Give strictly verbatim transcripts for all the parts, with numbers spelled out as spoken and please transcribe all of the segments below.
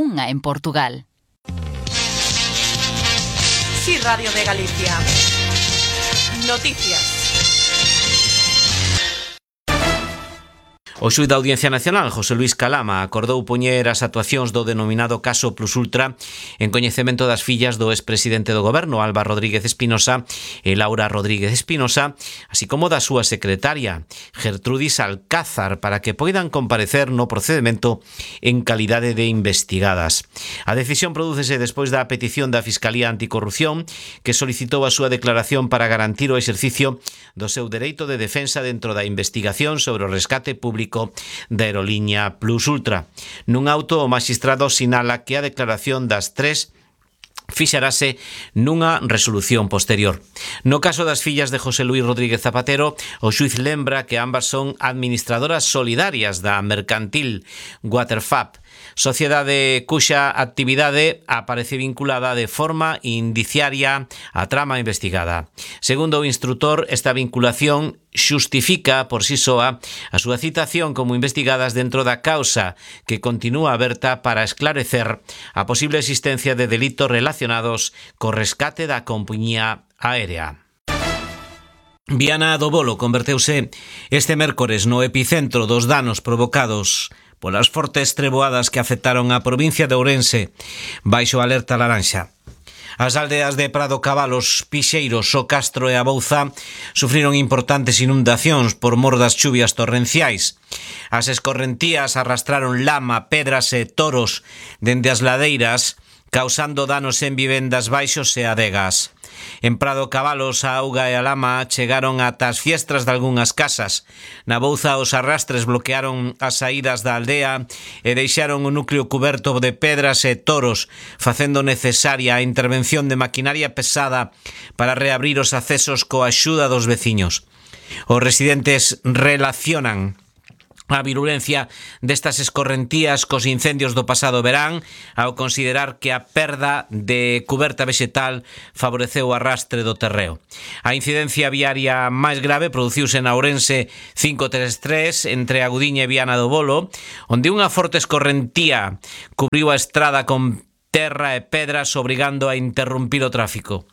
unha en Portugal. Sí, Radio de Galicia. Noticias. O xuíz da Audiencia Nacional, José Luis Calama, acordou poñer as actuacións do denominado caso Plus Ultra en coñecemento das fillas do expresidente do Goberno, Alba Rodríguez Espinosa e Laura Rodríguez Espinosa, así como da súa secretaria, Gertrudis Alcázar, para que poidan comparecer no procedimento en calidade de investigadas. A decisión prodúcese despois da petición da Fiscalía Anticorrupción, que solicitou a súa declaración para garantir o exercicio do seu dereito de defensa dentro da investigación sobre o rescate público da aeroliña Plus Ultra. Nun auto, o magistrado sinala que a declaración das tres fixarase nunha resolución posterior. No caso das fillas de José Luis Rodríguez Zapatero, o xuiz lembra que ambas son administradoras solidarias da mercantil Waterfab, sociedade cuxa actividade aparece vinculada de forma indiciaria á trama investigada. Segundo o instrutor, esta vinculación xustifica por si soa a súa citación como investigadas dentro da causa, que continúa aberta para esclarecer a posible existencia de delitos relacionados co rescate da compañía aérea. Viana do Bolo converteuse este mércores no epicentro dos danos provocados polas fortes treboadas que afectaron a provincia de Ourense baixo alerta laranxa. As aldeas de Prado Cabalos, Pixeiros, O Castro e a Bouza sufriron importantes inundacións por mor das chuvias torrenciais. As escorrentías arrastraron lama, pedras e toros dende as ladeiras, causando danos en vivendas baixos e adegas. En Prado Cabalos, a auga e a lama chegaron ata as fiestras de algunhas casas. Na Bouza, os arrastres bloquearon as saídas da aldea e deixaron o núcleo cuberto de pedras e toros, facendo necesaria a intervención de maquinaria pesada para reabrir os accesos coa axuda dos veciños. Os residentes relacionan a virulencia destas escorrentías cos incendios do pasado verán, ao considerar que a perda de cuberta vexetal favoreceu o arrastre do terreo. A incidencia viaria máis grave produciuse na Ourense cinco tres tres entre Agudiña e Viana do Bolo, onde unha forte escorrentía cubriu a estrada con terra e pedras, obrigando a interrumpir o tráfico.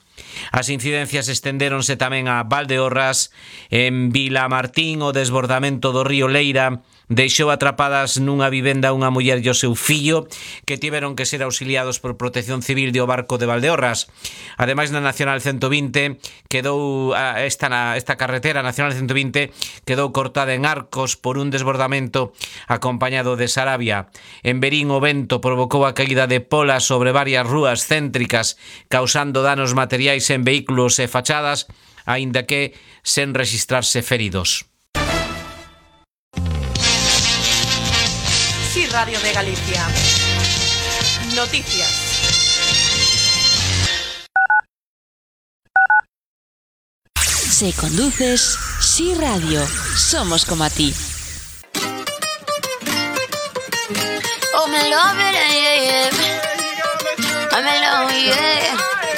As incidencias estendéronse tamén a Valdeorras. En Vilamartín, o desbordamento do río Leira deixou atrapadas nunha vivenda unha muller e o seu fillo, que tiveron que ser auxiliados por Protección Civil do barco de Valdeorras. Ademais, na Nacional ciento vinte quedou esta, esta carretera Nacional ciento vinte quedou cortada en Arcos por un desbordamento acompañado de Sarabia. En Verín, o vento provocou a caída de polas sobre varias rúas céntricas, causando danos materiais en vehículos e fachadas, aínda que sen rexistrarse feridos. Sí, Radio de Galicia. Noticias. Si conduces, Sí Radio. Somos como a ti. Oh, me love it, yeah, yeah. I'm in love, yeah.